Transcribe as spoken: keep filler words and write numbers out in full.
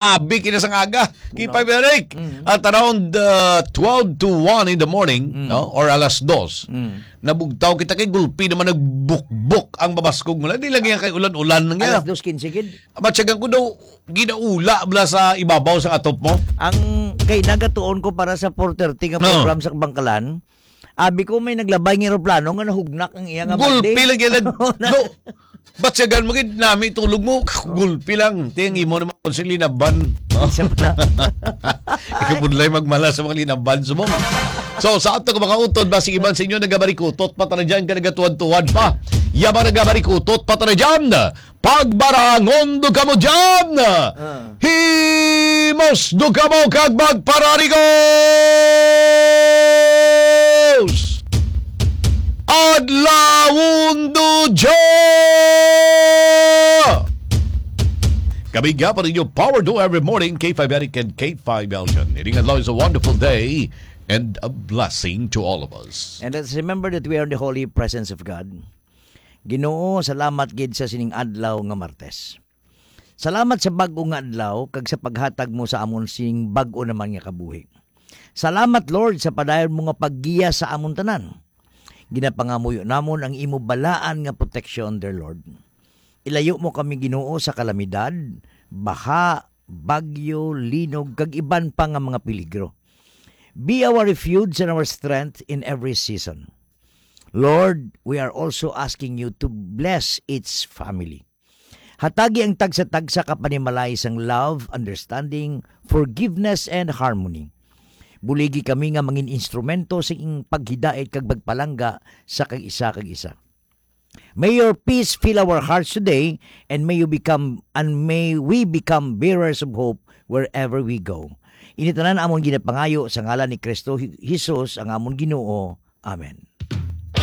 abi kina sang aga. Kay Pay Eric, Mm. at around, uh, twelve to one in the morning, Mm. no, or alas dos, Mm. nabugtaw kita kay gulpi naman nagbukbok ang mabaskog mo. Di lagi kay ulan-ulan nga. Alas dos quince gid. Matyagan ko daw, ginaula bala sa ibabaw sa atop mo. Ang kay nagatuon ko para sa four thirty nga No. program sa Bangkalan, abi ko may naglabay nga eroplano nga nahugnak ang iya nga Gulpi balde. lang yan. Nag-, no. Ba't siya gan mo gid nami tulog mo? Gulpi lang. Ting imo naman kung sila linaban. Siya pala. Ikabudlay magmala sa mga linaban sa mo. So, sa ato ka mga utod, basig iban sa inyo nagabarikutot pa tara dyan ka nagatuwad-tuwad pa. Yaman nagabarikutot pa tara dyan. Pagbarangon do kamo dyan. Ah. Himos do kamo kag magpararigos. Adlawon do dyan. Kami nga pa ninyo, Power Do Every Morning, K five Eric and K five Elton. Ining adlaw is a wonderful day and a blessing to all of us. And let's remember that we are in the holy presence of God. Ginoo, salamat gid sa sining adlaw nga Martes. Salamat sa bag-o nga adlaw kag sa paghatag mo sa amon sing bag-o naman nga kabuhi. Salamat, Lord, sa padayon mo nga paggiya sa amon tanan. Ginapangamuyo namon ang imo balaan nga proteksyon, dear Lord. Ilayo mo kami, Ginoo, sa kalamidad, baha, bagyo, linog, kag iban pa nga mga peligro. Be our refuge and our strength in every season. Lord, we are also asking you to bless each family. Hatagi ang tagsa-tagsa ka panimalay sang love, understanding, forgiveness, and harmony. Buligi kami nga mangin instrumento sa ing paghidait kag pagpalangga sa kag isa kag isa. May your peace fill our hearts today, and may you become, and may we become bearers of hope wherever we go. Ini tanan amon ginapangayo sa ngalan ni Kristo Hi-, Jesus, ang amon Ginoo. Amen.